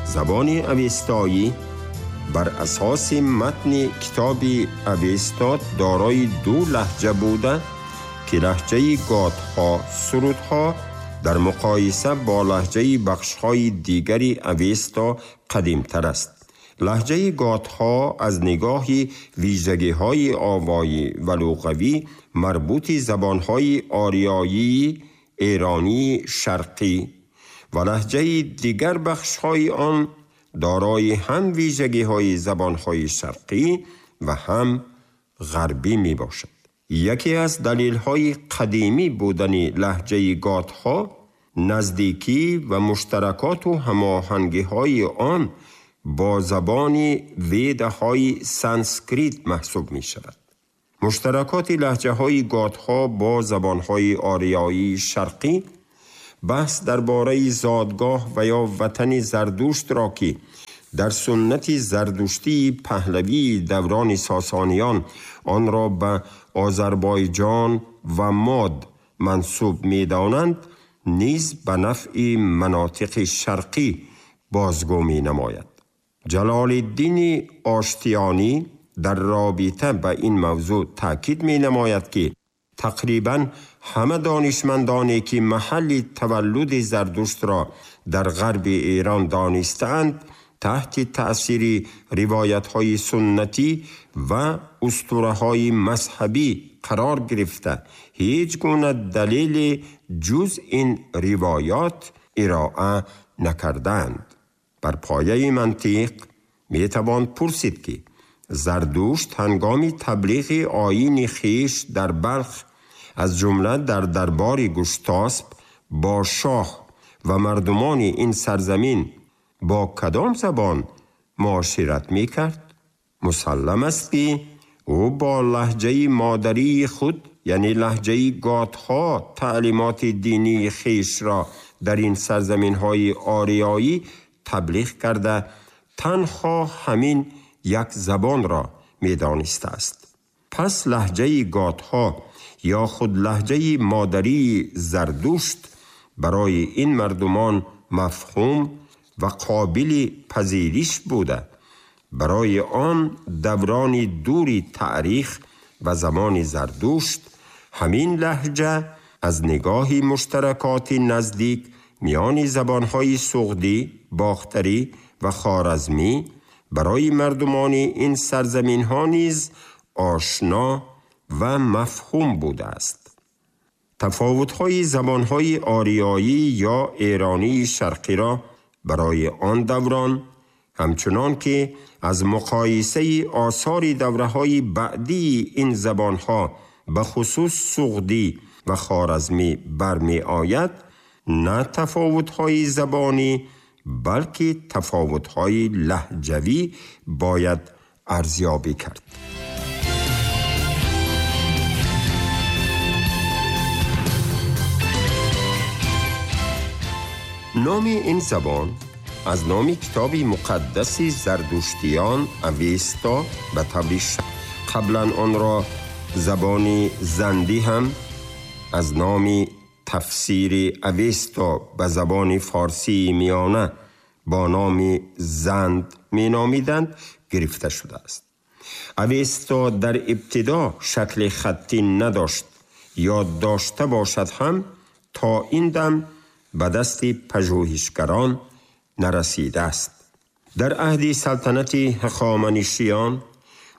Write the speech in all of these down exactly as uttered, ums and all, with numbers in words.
زبان اوستایی بر اساس متن کتاب اوستا دارای دو لهجه بوده که لهجه گاتها سرودها در مقایسه با لهجه بخش‌های دیگری اوستا قدیمتر است. لهجه گاتها از نگاه ویژگی‌های آوایی و لغوی مربوط زبان‌های آریایی ایرانی شرقی و لهجه دیگر بخش‌های آن دارای هم ویژگی‌های زبان‌های شرقی و هم غربی می‌باشد. یکی از دلیل‌های قدیمی بودن لهجه گاتها نزدیکی و مشترکات و هماهنگی‌های آن با زبان ویدهای سانسکریت محسوب می‌شود. مشترکات لهجه‌های گاتها با زبان‌های آریایی شرقی بحث درباره زادگاه و یا وطن زردشت را که در سنت زردشتی پهلوی دوران ساسانیان آن را به آذربایجان و ماد منسوب می‌دانند نیز به نفع مناطق شرقی بازگو می‌نماید. جلال الدین آشتیانی در رابطه به این موضوع تاکید می‌نماید که تقریباً همه دانشمندانی که محل تولد زردشت را در غرب ایران دانستند تحت تأثیر روایت‌های سنتی و اسطوره‌های مذهبی قرار گرفته هیچ گونه دلیل جز این روایات ارائه نکردند. بر پایه منطق میتوان پرسید که زردشت هنگام تبلیغ آیین خویش در بلخ از جمله در دربار گشتاسب با شاه و مردمان این سرزمین با کدام زبان معاشرت میکرد؟ مسلم است که او با لهجه مادری خود یعنی لهجه گاتها تعلیمات دینی خویش را در این سرزمین های آریایی تبلیغ کرده تنها همین یک زبان را میدانسته است. پس لهجه گاتها یا خود لهجه مادری زردشت برای این مردمان مفهوم و قابل پذیرش بوده. برای آن دوران دوری تاریخ و زمان زردشت همین لهجه از نگاه مشترکات نزدیک میان زبانهای سغدی، باختری و خوارزمی برای مردمان این سرزمین ها نیز آشنا و مفهوم بوده است. تفاوت‌های زبان‌های آریایی یا ایرانی شرقی را برای آن دوران همچنان که از مقایسه آثار دوره‌های بعدی این زبان‌ها به خصوص سغدی و خوارزمی برمی آید، نه تفاوت‌های زبانی بلکه تفاوت‌های لهجوی باید ارزیابی کرد. نام این زبان از نام کتاب مقدس زردشتیان اوستا به طور قبلا آن را زبان زندی هم از نام تفسیر اوستا به زبان فارسی میانه با نام زند می نامیدند گرفته شده است. اوستا در ابتدا شکل خطی نداشت یا داشته باشد هم تا این دم به دست پژوهشگران نرسیده است. در عهد سلطنت هخامنشیان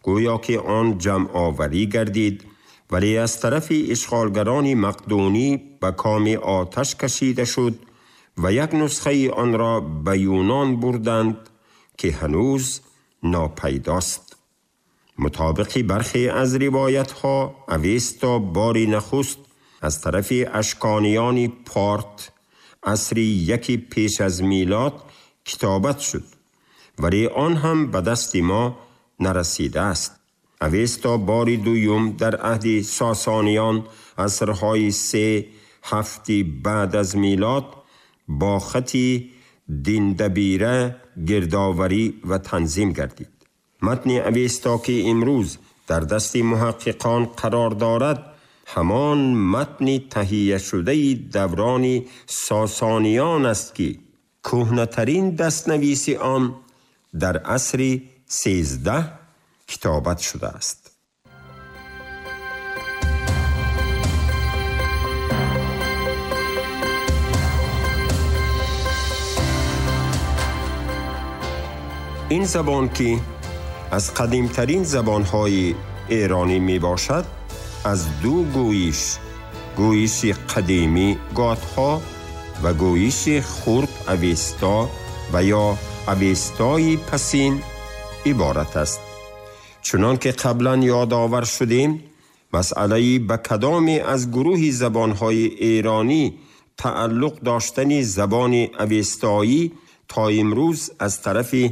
گویا که آن جمع آوری گردید، ولی از طرف اشغالگران مقدونی به کام آتش کشیده شد و یک نسخه آن را به یونان بردند که هنوز ناپیداست. مطابق برخی از روایت ها اوستا باری نخست از طرف اشکانیان پارت عصر یکی پیش از میلاد کتابت شد، ولی آن هم به دست ما نرسیده است. اوستا باری دویم در عهد ساسانیان عصرهای سه هفتی بعد از میلاد با خطی دیندبیره گردآوری و تنظیم گردید. متن اوستا که امروز در دست محققان قرار دارد همان متن تهیه شده دوران ساسانیان است که Кӯҳнатарин дастнависи он дар асри сездаҳ китобат шудааст. Ин забон ки аз қадимтарин забонҳои эронӣ мебошад, аз ду гӯиш, гӯиши қадимӣ готҳо ва гӯиши хурд авесто ва ё авестои пасин иборат аст. Чунон ки қаблан ёдовар шудем, масъалаи ба кадоме аз гурӯҳи забонҳои эронӣ тааллуқ доштани забони авестоӣ то имрӯз аз тарафи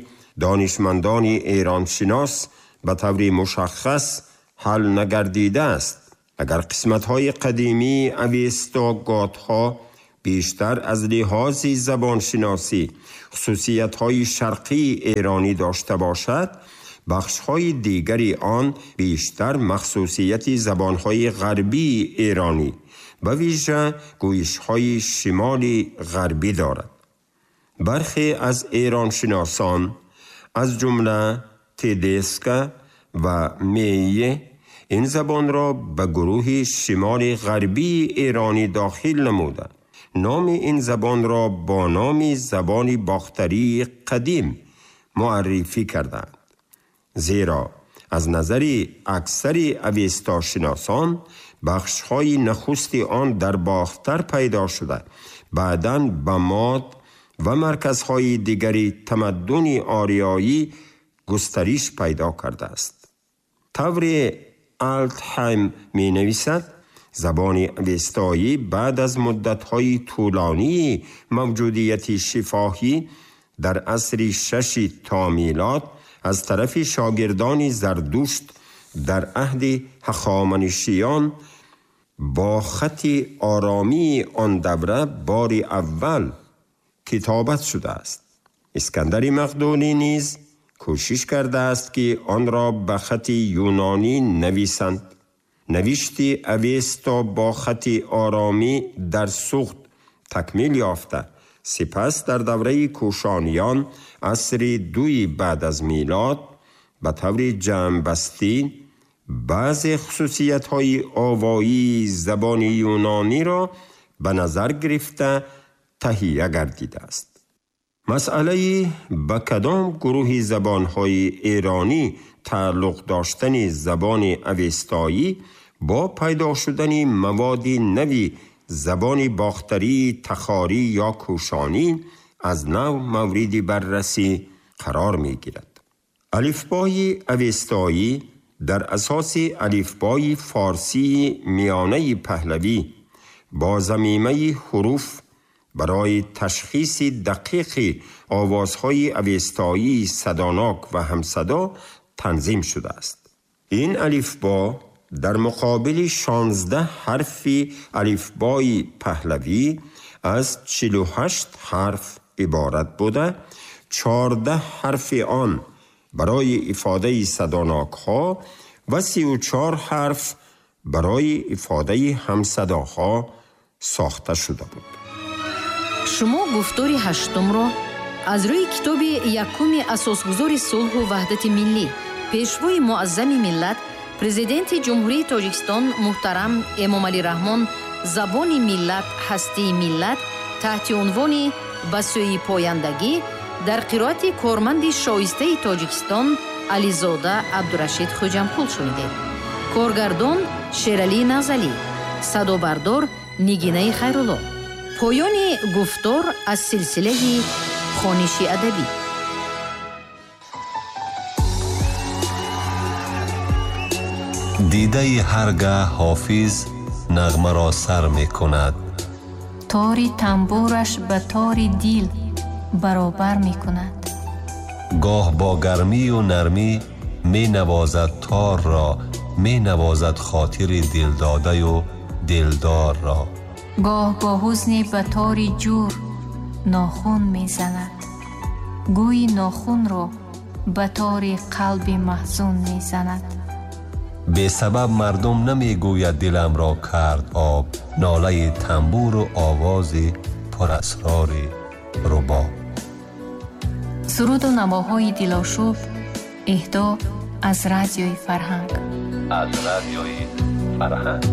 донишмандони эроншинос ба таври мушаххас ҳал нагардидааст. Агар қисматҳои қадимии авесто готҳо бештар аз лиҳози забоншиносӣ хусусиятҳои шарқии эронӣ дошта бошад, бахшҳои дигари он бештар махсусияти забонҳои ғарбии эронӣ, ба вижа гӯишҳои шимоли ғарбӣ дорад. Бархе аз эроншиносон, аз ҷумла Тедеска ва Мейе, ин забонро ба гурӯҳи шимоли ғарбии эронӣ дохил намуда, номи ин забонро бо номи забони бохтарии қадим муаррифӣ карданд. Зеро аз назари аксари авестошиносон бахшҳои нахусти он дар Бохтар пайдо шуда, баъдан ба Мод ва марказҳои дигари тамаддуни ориёӣ густариш пайдо кардааст. Тавре Алтхайм менависад, забони авестоӣ баъд аз муддатҳои тӯлонии мавҷудияти шифоҳӣ дар асри шаши то милод аз тарафи шогирдони Зардушт дар аҳди Ҳахоманишиён бо хати оромии он давра бори аввал китобат шудааст. Искандари Мақдунӣ низ кӯшиш кардааст, ки онро ба хати юнонӣ нависанд. Навишти авесто бо хати оромӣ дар Суғд такмил ёфта, сипас дар давраи кӯшониён асри дуи баъд аз милод ба таври ҷамъбастӣ баъзе хусусиятҳои овоии забони юнониро ба назар гирифта таҳия гардидааст. Масъалаи ба кадом гурӯҳи забонҳои эронӣ тааллуқ доштани забони авестоӣ бо пайдо шудани маводи нави забони бохтарии тахорӣ ё кӯшонӣ аз нав мавриди баррасӣ қарор мегирад. Алифбои авестоӣ дар асоси алифбои форсии миёнаи паҳлавӣ бо замимаи ҳуруф барои ташхиси дақиқи овозҳои авестоии садонок ва ҳамсадо танзим шудааст. Ин алифбо дар муқобили шонздаҳ ҳарфи алифбои паҳлавӣ аз чилу ҳашт ҳарф иборат буда, чордаҳ ҳарфи он барои ифодаи садонокҳо ва сию чор ҳарф барои ифодаи ҳамсадоҳо сохта шуда буд. Шумо гуфтори ҳаштумро аз рӯи китоби якуми асосгузори сулҳу ваҳдати миллӣ, пешвои муаззами миллат, президенти Ҷумҳурии Тоҷикистон муҳтарам Эмомалӣ Раҳмон «Забони миллат, ҳастии миллат» таҳти унвони «Ба сӯи пояндагӣ» дар қироати корманди шоистаи Тоҷикистон Ализода Абдурашид Хӯҷамқул шунидед. Коргардон Шералӣ Назалӣ, садобардор Нигинаи Хайрулло. Поёни гуфтор аз силсилаи хониши адабӣ. Дидаи ҳаргаҳ ҳофиз нағмаро сар мекунад, тори тамбураш ба тори дил баробар мекунад. Гоҳ бо гармию нармӣ менавозад торро, менавозад хотири дилдодаю дилдорро. Гоҳ бо ҳузне ба тори ҷур нохун мезанад, гӯйи нохунро ба тори қалби маҳзун мезанад. Бесабаб мардум намегӯяд диламро кард об, нолаи тамбуру овози пурасрори рубоб. Суруду навоҳои дилошуб эҳдо аз Радиои Фарҳанг. Аз Радиои Фарҳанг.